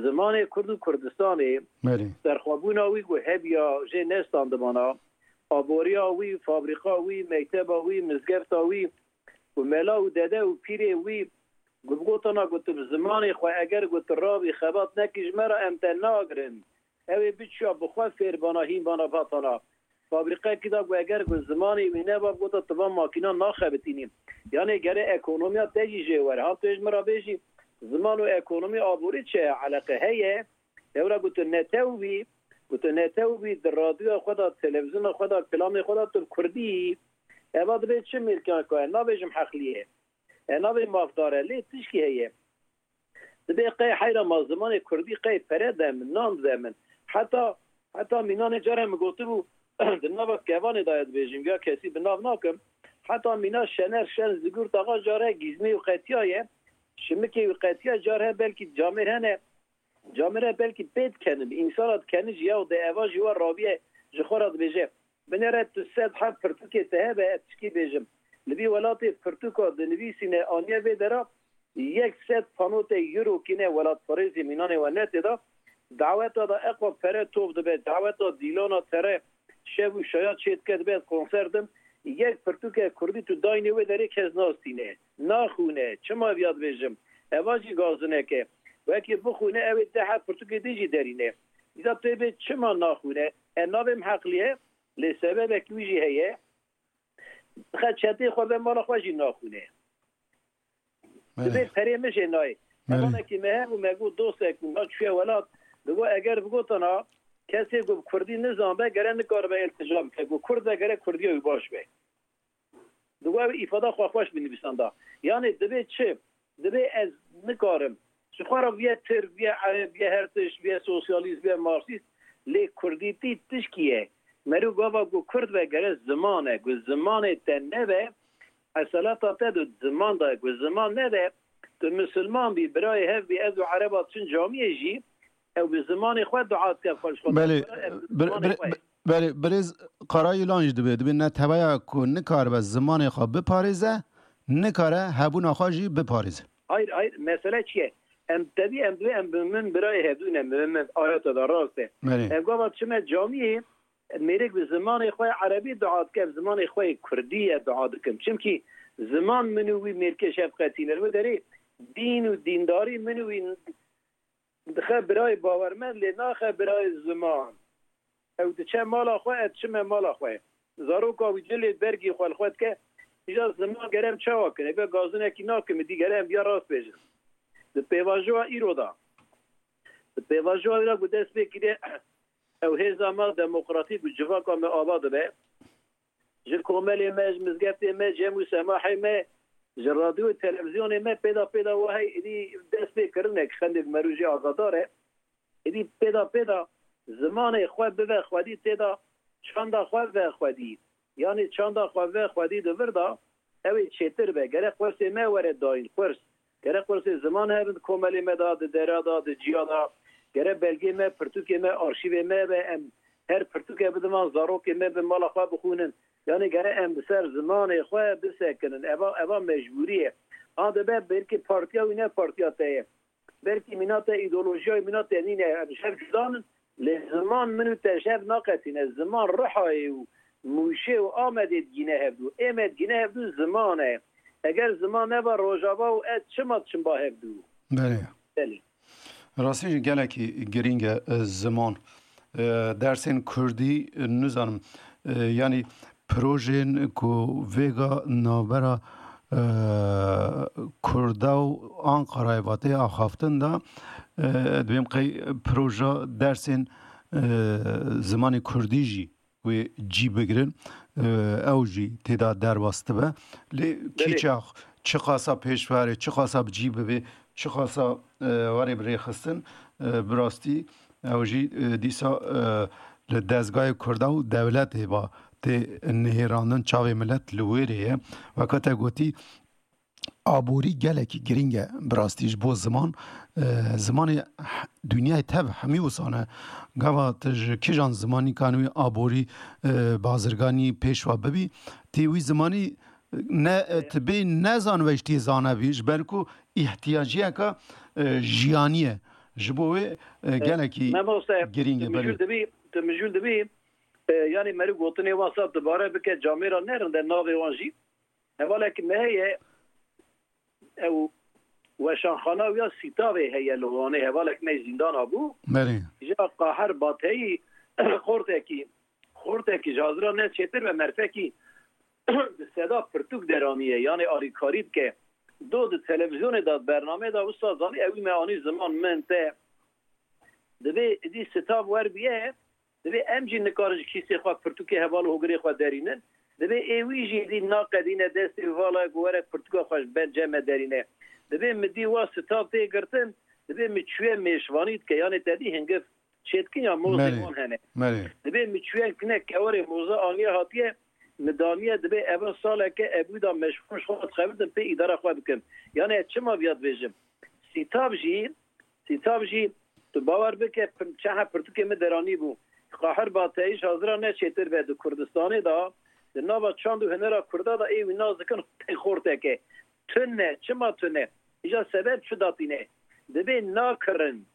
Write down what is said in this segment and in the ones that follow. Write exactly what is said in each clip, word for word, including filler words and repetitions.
Zimanê Kurd û Kurdistanê, Belê. serxwebûna wî ku hebiya jê nestandibana, aboriya wî, fabrîka wî, mekteba wî, mizgefta wî û mela û dede û pîrê wî ku bigotana ku tu bi zimanê xwe eger ku tu rabî xebat nekî ji me re em te nagirin. Ew ê biçiya bi xwe fêr bana hîn bana vatana. Fabrîqekî da ku eger ku zimanê wî neba bigota tu van makîna naxebitînî. Yanê gere ekonomiya te jî jê were. Ha tu ê ji min re bêjî ziman û ekonomî aborî çi ye? Eleqe heye. Lewra ku tu netew bî, ku tu netew bî di radyoya xwe de, televîzyona xwe de, kilamê xwe de tu bi kurdî yî. Eva dibe çi mêrkeyeka ye? Nabêjim heqlî ye. E, nabê mafdar e. Lê tişkî heye. Dibê qey heyra ma zimanê kurdî qey pere de min, nan de min. Heta, heta mînanê care min gotibû, di nava kevanê de ye dibêjim, ya kesî bi nav nakim. Heta mîna Şener Şen Zigurt Axa care gîzmê wî qetiyaye, şimikê wî qetiya, car he belkî camêr hene, camêr he belkî pê dikenin, însana dikenin ji ya û de eva jî we rabiye ji xwe re dibêje. Binêre tu sed heb pirtûkê te hebe, ez tişkî bêjim. Li vî welatê pirtûka dinivîsîne aniye vê dera, yek sed pano te euro kîne welatparêzê mînanê we ne tê de. Daweta de eqwa pere top dibe, daweta dîlana tere şev û şaya çê dike dibe konser din. Yek pirtûke kurdî tu daynê wê derê kes nastîne. Naxwîne. Çima viya dibêjim? Eva jî gazinek e. Wekî bixwîne ew ê deh heb pirtûkê din jî derîne. Îza tu ê bê çima naxwîne? E navê min heqlî ye. Lê sebebek wî jî heye. Dixe çetê xwe ve mala xwe jî naxwîne. Belê. Dibê perê min jê nayê. Belê. Hevalekî me hebû, me got dostek bû, me çûye welat. Digo eger bigotana kesê ku bi kurdî nizanbe gere nikaribe îltija bike. Ku kurd be gere kurdiya wî baş be. Digo ew îfada xwe xweş binivîsanda. Yanê dibê çi? Dibê ez nikarim. Ji xwe re viye tirk, viye ereb, viye her tişt, viye sosyalîst, viye marksîst. Lê kurdîtî tişkî ye. Meriv gava ku kurd be gere ziman e. Ku zimanê te nebe, eselata te di ziman de ye. Ku ziman nebe, tu misilman bî, birayê hev bî, ez û ereba çin camiyê jî, ew bi zimanê xwe dua dike xwe ji xwe Belê, dixwere, ev bi bir-, zimanê bir-, xwe ye. Belê, birêz Karayilan jî dibê, dibê neteweya ku nikaribe zimanê xwe biparêze, nikare hebûna xwe jî biparêze. Hayır, hayır, mesele çi ye? Em tevî em divê em bi min birayê hevdû ne, min, min ayeta da rast e. Belê. Ev gava çime camiyê, mêrik bi zimanê xwe erebî dua dike, bi zimanê xwe kurdî ye dua dikim. Çimkî ziman min û wî mêrkê şefqetî ne. Li derê dîn û dîndarî min û wî dixe birayê bawermend, lê naxe birayê ziman. Ew diçe mala xwe, ez çime mala xwe. Zaroka wî cilê bergî xwe li xwe dike. Îja ziman gere em çawa kin? Eve gazinekî nakim, dî gere em viya rast bêjin. Di pêvajoya îro de, di pêvajoya wî re ku dest pê kiriye, ew hêza me demokratîk û civaka me ava dibe. Ji komelê me, ji mizgeftê me, cem û semahê me, ji radyo û televîzyonê me pêda pêda wahey êdî dest pê kirinek xendek merû jî agadar e. Êdî pêda pêda zimanê xwe bibe xwedî tê de, çanda xwe ve xwedî. Yanî çanda xwe ve xwedî di vir de, ew ê çêtir be. Gerek qursê me were dayîn, qurs. Gerek qursê ziman hebin di komelê me de, di dera de, di ciya de. Gerek belgê me, pirtûkê me, arşîvê me be, em her pirtûke bidin van zarokê me bi mala xwe bixwînin. Yanî gerek em bi ser zimanê xwe bisekinin. Eva, eva mecbûrî ye. A dibe belkî partiya wî ne partiya te ye. Belkî mîna te îdeolojiya wî mîna te nîne, em ji hev cuda nin. Lê ziman min û te ji hev naqetîne. Ziman Rihayê û Mûşê û Amedê digîne hevdû. Ê me digîne hevdû ziman e. Eger ziman neba Rojava û ez çima diçim ba hevdû? Belê. Belê. Rastî jî gelekî girîng e, e, ziman. E, dersên kurdî, e, nizanim, e, yanî projeyên ku vêga navbera, e, Kurda û Anqarayê vatê axaftin de, e, dibêm qey proja dersên, e, zimanê kurdî jî wê cî bigirin, e, ew jî tê de derbas dibe. Lê Belê. kîçax çiqasa pêşverê, çiqasa bi cî bibê, çiqasa, e, were bi rêxistin, e, bi rastî ew jî, e, dîsa, e, li dezgayê Kurda û dewletê va tê nihêrandin, çavê milet li wêrê ye. Weke te gotî, aborî gelekî girîng e bi rastî ji bo ziman. E, zimanê h-, dinyayê tev hemî wisa ne. Gava tu ji kîjan zimanîkan wî aborî, e, bazirganî pêşwa bibî, tê wî zimanî ne, e, tu bê nezanve ji tê zanevî, ji ber ku îhtiyaciyeka, e, jiyanî ye. Ji bo wê, e, gelekî Memo Seyf, girîng e, tu mijûl belê. Dibî, tu mijûl dibî, e, yanî meriv gotinê wan saf dubare bike, camêra ne rind e navê wan jî. Hevalek me heye, ew weşanxana wî ya Sîtavê heye li Wanê, hevalek me zîndana bû. Belê. Ji Qahir Bateyî xortekî, xortekî ji hazira ne çêtir ve merfekî bi seda pirtûk deraniye, yanê alîkarî dike. Do di televîzyonê de, bernameyê de wisa zanî, ew me anî ziman min te. Divê êdî Sîtav wer bûye, divê em jî nikarin ji kîsê xwe pirtûkê heval û hogirê xwe derînin. Divê ê wî jî êdî naqedîne destê vala ku were pirtûka xwe ji ber cem me derîne. Divê mi dî wa Sîtav tê girtin, divê mi çûye mêşvanî dike, yanê te dî hingiv çêdikin ya mozê Merê, wan hene. Merê. Divê mi çûye kine kewerê moza aniye hatiye, mi daniye, divê eva saleke ebû da meşvan ji xwe dixebitin pê îdara xwe bikim. Yanê ez çima viya dibêjim? Sîtav jî, Sîtav jî, tu bawer bike, pir-, çehe pirtûkê min deranî bû. Qahir Bateyî ji hazira ne çêtir be di Kurdistanê de, di nava çand û hunera Kurda de ê wî nas dikin tey xorteke. Tune, çima tune? Îja sebeb çi datîne? Divê nakirin,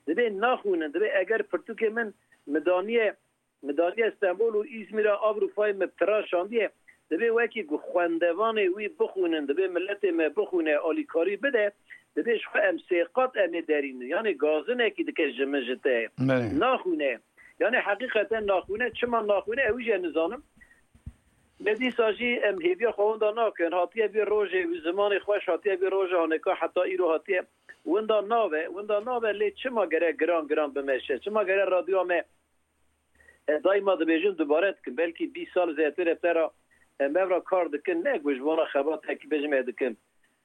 divê naxwînin, divê eger pirtûkê min midaniye, midaniye Stenbol û Îzmîra Avrupayê me tira şandiye, divê wekî ku xwendevanê wî bixwînin, divê miletê me bixwîne, alîkarî bide, divê ji xwe em sê qat em ê derînin. Yanî gazinekî dike ji min ji te. Belê. Naxwîne. Yanî heqîqeten naxwîne. Çima naxwîne? Ew jî ez nizanim. Me dîsa jî em hêviya xwe winda nakin. Hatiye vê rojê, wî zimanê xweş hatiye vê roja haneka heta îro hatiye. Winda nabe, winda nabe lê çima gere giran giran bimeşe? Çima gere radyoya me, ez daîma dibêjim, dubare dikim, belkî bîst sal zêdetir e te ra em ev ra kar dikin, ne ku ji bona xebatekî bêjim ez dikim.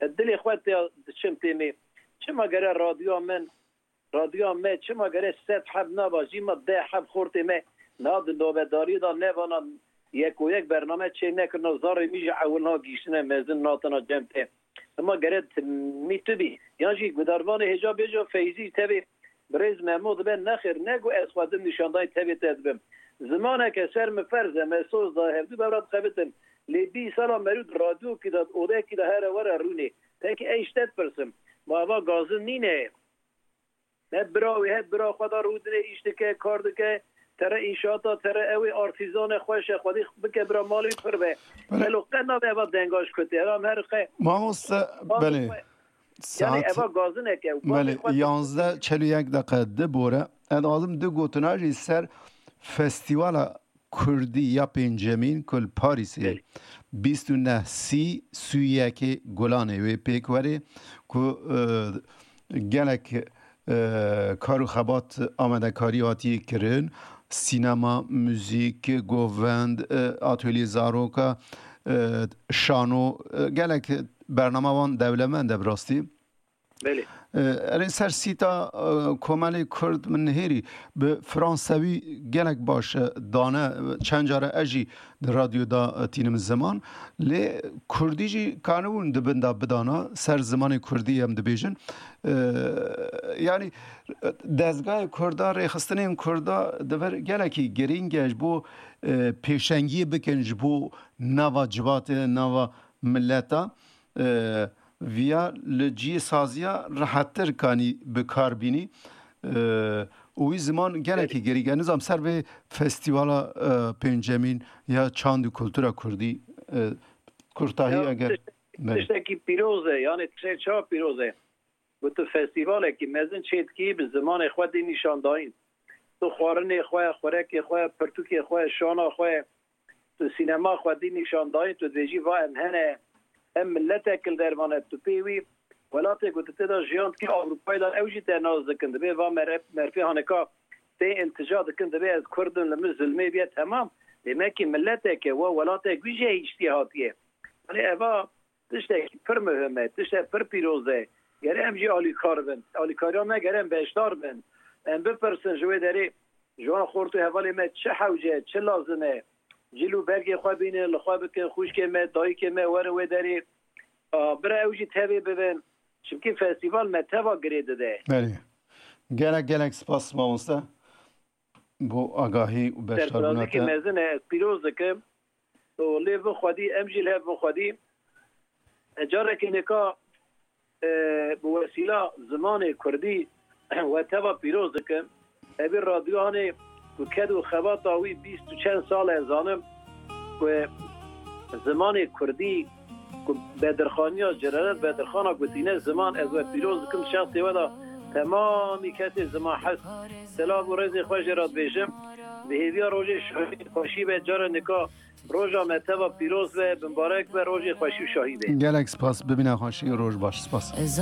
Ez dilê xwe tê diçim têmê. Çima gere radyoya min Radyoya me çima gere sed heb naba jî ma deh heb xortê me niha di nobedariyê de nevana yek û yek bername çê nekirina zarê min jî ewil niha gihîştine mezin natina cem te. Ema gere timî tu bî. Yan jî gudarvanê hêja bêje Feyzî tevê birêz Memo dibe nexêr ne ku ez xwe dim nîşandayî tevê te dibim. Zimaneke ser min ferz e, me soz da hevdû bevra dixebitin. Lê bîst sala merû di radyokî de, di odeyekî de here were rûnê. Peki ez ji te dipirsim. Ma eva gazin nîne? He bira wê, he bira xwe da rûdinê îş dike, kar dike, tere înşaata, tere ew ê artîzan e, xweş e, xwedî bike bira malê pir be. Belê. Gelo qe nabe eva denga ji kutê? Eva her qe. Mamoste, Eva belê. xwe. Yani Saet, eva gazinek e. belê, Gazinê xwe yanzdeh çel û yek deqe di bore. Ez dixwazim du gotina jî ser festîvala Kurdî ya pêncemîn ku li Parîsê Belê. bîst û neh sî sûyekê Gulanê wê pêk werê ku, e, gelek, e, kar û xebat amadekarî hatiye kirin. Sînema, muzîk, govend, e, atölye zaroka, e, şano, e, gelek bernama wan dewlemend e bi rastî. Belê. E, erê ser sîta, e, komelê Kurd min nihêrî bi fransewî gelek baş, e, dane, e, çend care ez jî di radyo da, e, tînim ziman. Lê Kurdî jî kanibûn di bin da bidana, ser zimanê Kurdî em dibêjin. E, yanî, e, dezgahê Kurda, rêxistinên Kurda di vir gelekî girîng e ji bo, e, pêşengiyê bikin ji bo nava civatê, nava mileta. E, viya li cihê saziya rehettir kanî bi kar bînî. E, û wî ziman gelekî gerî. Nizam ser vê festîvala, e, pêncemîn ya çand û kultura kurdî, e, kurtahî Ya, eger tişt-, Belê. tiştekî pîroz e, yani tiştek çawa pîroz e? Ku tu festîvalekî mezin çêdikî bi zimanê xwe dî nîşandayîn. Tu xwarinê xwe, xurekê xwe, pirtûkê xwe, şana xwe, tu sînema xwe dî nîşandayîn, tu dibêjî va em hene, em miletek li dervan e, tu pê wî welatê ku tu tê de jiyan dikî Ewropayê de ew jî te nas dikin. Dibê va mere-, merfê hanika tê iltica dikin, dibê ez Kurd im, li min zilmê bîye temam. Demekî miletek e, we welatek wî jî hiştiye hatiye. Yanî eva tiştekî pir muhim e, tiştek pir pîroz e. Gere em jî alîkar bin. Alîkariya me gere em beşdar bin. Em bipirsin ji wê derê, ji wan xort û hevalê me çi hewce, çi lazim e? Cil û bergê xwe bînin, li xwe bikin, xwişkê me, dayikê me werin wê derê. A, bira ew jî tevê bibin. Çimkî festîval me teva girê dide. Belê. Gelek, gelek spas mamoste. Bo agahî û beşdarbûna Serfirazîkî te. Mezin e, ez pîroz dikim. Û lê bin xwedî, em jî li hev bin xwedî. E, carekê nika, e, bi wesîla zimanê kurdî we teva pîroz dikim. Evî radyohanê ku ked û xebata wî bîst û çend sal e, zanim ku zimanê kurdî ku Bedirxaniya Celalet Bedirxana gotîne ziman, ez we pîroz dikim, şexsê we de temamî kesê ziman hez. Silav û rêzê xwe jê re dibêjim. Bi hêviya rojê şahî xweşî be, cara nika roja me teva pîroz be, bimbarek be, rojê xweşî û şahî be. Gelek spas, bibîne xweşî, roj baş, spas. Ez